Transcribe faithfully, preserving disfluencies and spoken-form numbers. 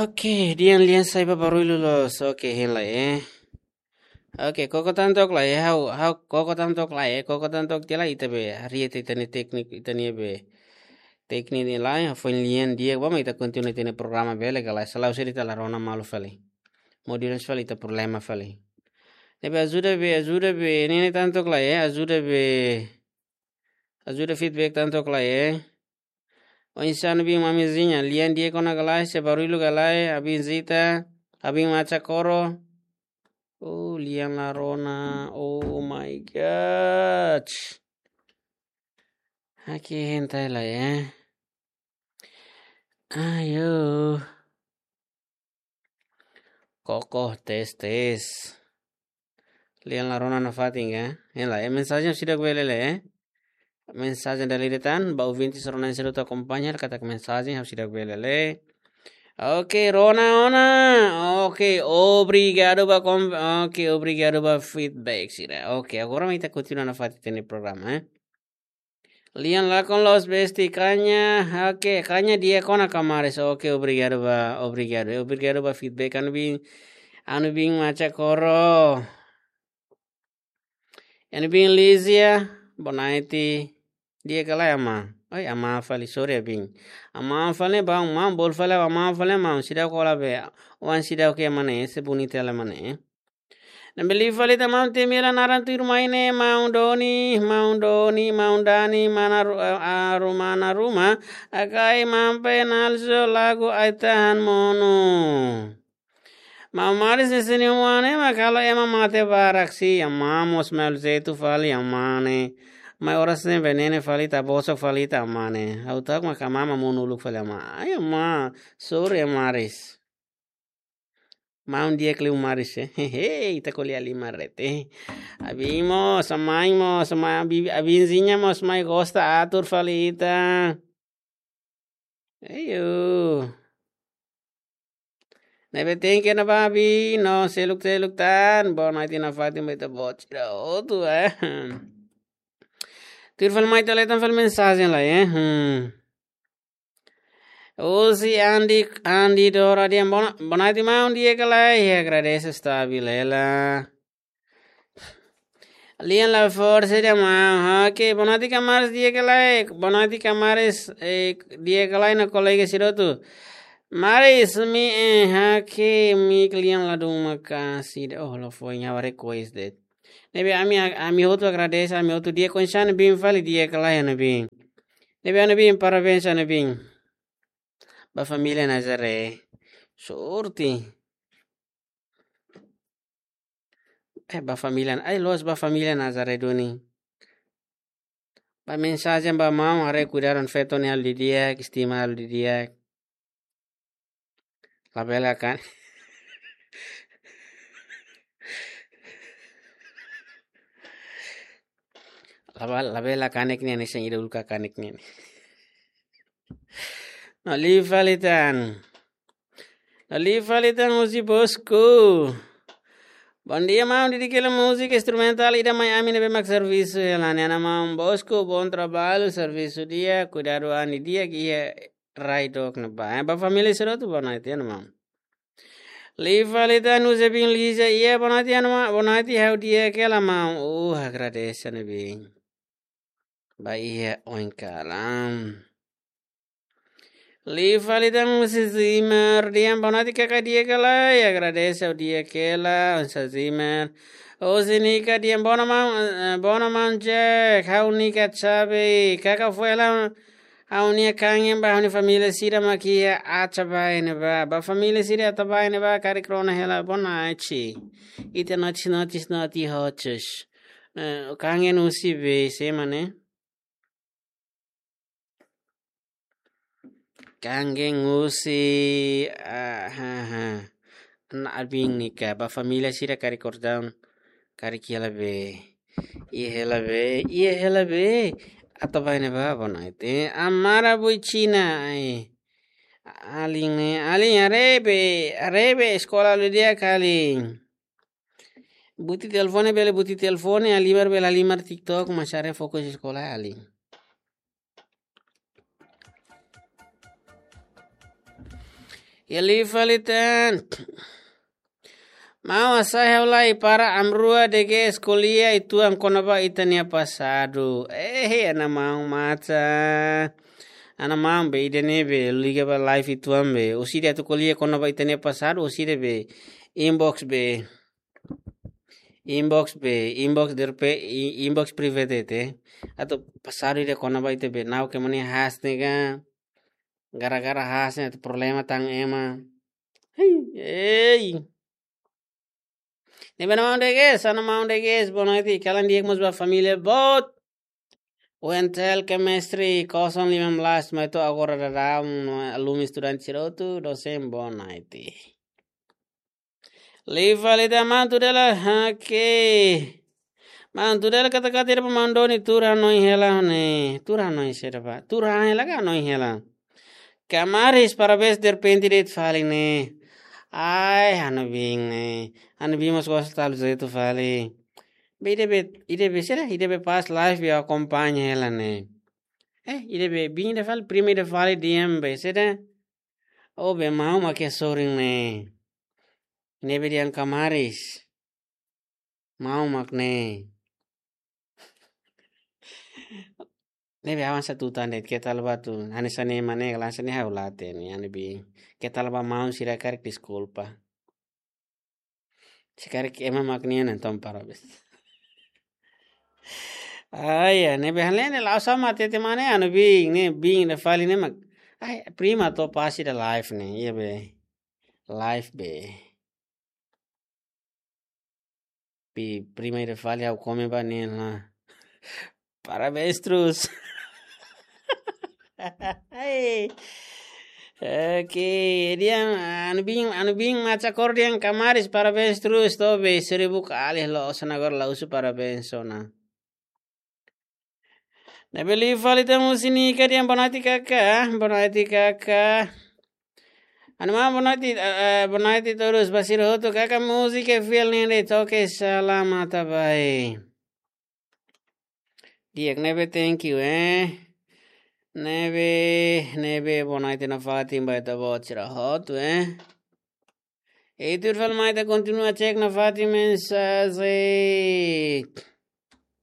Oke, dehan lian sai ba barullu loos. Oke, hein lai, eh. Oke, koko tan took lai, eh. Ha'u, ha'u koko tan took lai, eh. Koko tan took tiha lai, ita be haree ita-nia tékniku, ita-nia be tékniku ne'e lai, foin lian di'ak ba mak ita kontinua ita-nia programa bele ka lae. Se la'ós ita la rona malu fali. Modulus fali ita problema fali. Ne'ebé ajuda be, ajuda be, ne'e tan took lai, eh. Ajuda be, ajuda feedback tan took lai, eh. Oinsá ami-nia biin, mamizinha, lian di'ak ona ka lae, se barullu ka lae, abin Zita, abin Macha Koro. Oh, lian la rona. Oh my God. Oke, hein lai, eh. Ayo. Koko, tes, tes. Lian la rona nafatin ka? Hein lai, eh, mensajen seidauk bele lee, eh? Mensajen dala ida tan, ba ouvinte sira-ne'e sira hotu akompaña, katak mensajen ha'u seidauk bele lee. Oke, rona ona. Oke, obrigadu ba kom-, oke, obrigadu ba feedback sira. Oke, agora mak ita kontinua nafatin ita-nia programa, eh? Lian lakon loos besti, kaña, oke, kaña di'ak ona kamaris. Oke, obrigadu ba, obrigadu. Obrigadu ba feedback, ami-nia biin, ami-nia biin Macha Koro. Ami-nia biin Lizia, boa noite. Di'ak ka lae, amá? Oi, amá fali, sorry, abin. Amá fali, bang, maun, bolu fali, amá fali, maun. Seidauk kola be. Oan seidauk ke mane, se bonita la mane. Ne'ebé liu fali tan maun, temi hela naran tuirmai ne'e, maun Doni, maun Doni, maun Dani, mana ru-, a, a, ru-, mana ruma, akai mampe nalso lagu ai-tahan monu. Maun Maris ne'e sini huane, mak halo ema mate barak si, amá mós malu zaitu fali, amá ne'e. Mai oras ne'e venene fali, ita bosok fali ita, amá ne'e. Ha'u ta'uk mak amá mak monu uluk fali, amá. Ai, amá, sorry, Maris. Maun di'ak liu Maris, eh. Hehe, ita ko'alia liman rete. Abin mós, amá mós, amá, abi-, abinzinha mós mai gosta atur fali ita. Ayo. Ne'ebé thank you ona ba abin, no seluk-seluk tan. Boa noite nafatin ba ita-boot sira hotu, eh. Tuir fali mai toletan fali mensajen lai, eh. Hmm. Husi Andi, Andi Dora dehan boa no-, boa noite maun, di'ak ka lae, agradese stabil hela. Lian la forsa dehan maun, oke, boa noite kamaris, di'ak ka lae, boa noite kamaris, eh, di'ak ka lae no kolega sira hotu. Maris, mi, eh, oke, mi lian ladún maka'as ida, oh, la foin, ha'u request de'it. Ne'ebé ami, ami hotu agradese, ami hotu di'ak, oinsá ami-nia biin fali, di'ak ka lae ami-nia biin. Ne'ebé ami-nia biin, parabéns ami-nia biin. Ba família Nazaré. Sorte. Eh, ba família, ai, loos ba família Nazaré duni. Ba mensajen ba maun, haree kuidadu ona feto ne'e halo didi'ak, estima halo didi'ak. Labele kan. Laba-, labele kanek ne'e, ne'e sing ida uluk kanek ne'e. No liu fali tan. No liu fali tan husi Bosco. Bom dia, maun, didik hela múzika instrumentál ida mai ami ne'ebé mak servisu hela ne'e, maun Bosco, bom trabalho, servisu di'ak, kuidadu an didi'ak iha rai dook ne'ebá. Eh, ba família sira hotu boa noite, maun. Liu fali tan husi biin Lizia, iha boa noite, maun, boa noite, ha'u di'ak hela maun. Uh, agradese ami-nia biin. Ba iha oin kalan. Liu fali tan husi Zimar, dehan boa noite kaka, di'ak ka lae, agradese ha'u di'ak hela, husi Zimar. Husi Nika dehan boa no maun, eh, boa no maun Jack, ha'u Nika Chabe, kaka foin hela, ha'u-nia kangen ba ha'u-nia família sira mak iha Atabae ne'ebá, ba família sira Atabae ne'ebá, karik rona hela, boa noite. Ita noite, noite, noite, hotus. Eh, kangen husi be, se mane? Kangen husi, ah, ha, ha. Ana abin Nika, ba família sira karik kordon, karik iha hela be. Iha hela be, iha hela be. Atabae ne'ebá, boa noite. Amara Buichina, ai. Alin, eh, alin, haree be, haree be, eskola halo di'ak, alin. Buti telefone, bele buti telefone, halimar bele halimar TikTok, mas haree fokus eskola, alin. Liu fali tan. Maun, hasai ha'u lai para ami rua de'it ko'alia uitoan kona-ba ita-nia pasadu. Eh, ana maun mata. Ana maun be, ida-ne'e be, liga ba live uitoan be. Orsida atu ko'alia kona-ba ita-nia pasadu, orsida be. Inbox be. Inbox be, inbox derpe, i-, inbox private te. Atu pasadu ida kona-ba ita be, nau ke mani haas ne'e ka. Gara-gara haas ne'e atu problema tan ema. Hei, ei. Ne'ebé ana maun de'it, ana maun de'it, boa noite, kalan di'ak mós ba família boot. U N T L Chemistry, kosong lima belas, mai to'o agora daudaun, no alumni estudante sira hotu, dosen, boa noite. Liu fali tan maun, tuir hela, oke. Maun, tuir hela katak-katak ida ba maun Doni, tuur hanoin hela ne'e. Tuur hanoin saida ba. Tuur hanoin hela ka hanoin hela. Kamaris, parabéns, derrepente de'it fali ne'e. Ai, ha'u-nia biin ne'e. Ha'u-nia biin mós gosta tau jeitu fali. Be ida be, ida be saida, ida be pas live be akompaña hela ne'e. Eh, ida be, biin ida fali, prima ida fali di'ak be saida. Oh, be maun mak iha sorin ne'e. Ne'ebé dehan kamaris. Maun mak ne'e. Ne'ebé avansa tu tan de'it, keta leba tu. Hanesan ne'e mane, hanesan ne'e ha'u la hatene, ha'u-nia biin. Keta leba maun sira karik deskulpa. Se karik ema mak nian entaun parabéns. Ai, ya, ne'ebé ha'u-nia la'o sama tete mane, ha'u-nia biin, ne'e, biin ida fali ne'e mak. Ai, prima to'o pas ida live ne'e, iha be. Live be. Bi prima ida fali ha'u komen ba nia la. Parabéns terus. Oke, dehan, ha'u-nia biin, ha'u-nia biin maca kor dehan kamaris parabéns terus, to'o be seribu kali loos ona agora la husu parabéns ona. Ne'ebé liu fali tan Musi Nika dehan boa noite kaka, boa noite kaka. Ha'u-nia maun boa noite, eh, eh, boa noite todos, ba sira hotu kaka múzika fiel ne'e de'it, oke, salam mata bai. Di'ak ne'ebé, thank you, eh. Ne'ebé, ne'ebé, boa noite nafatin ba ita-boot sira hotu, eh. Ei, tuir fali mai ita kontinua cek nafatin mensajen.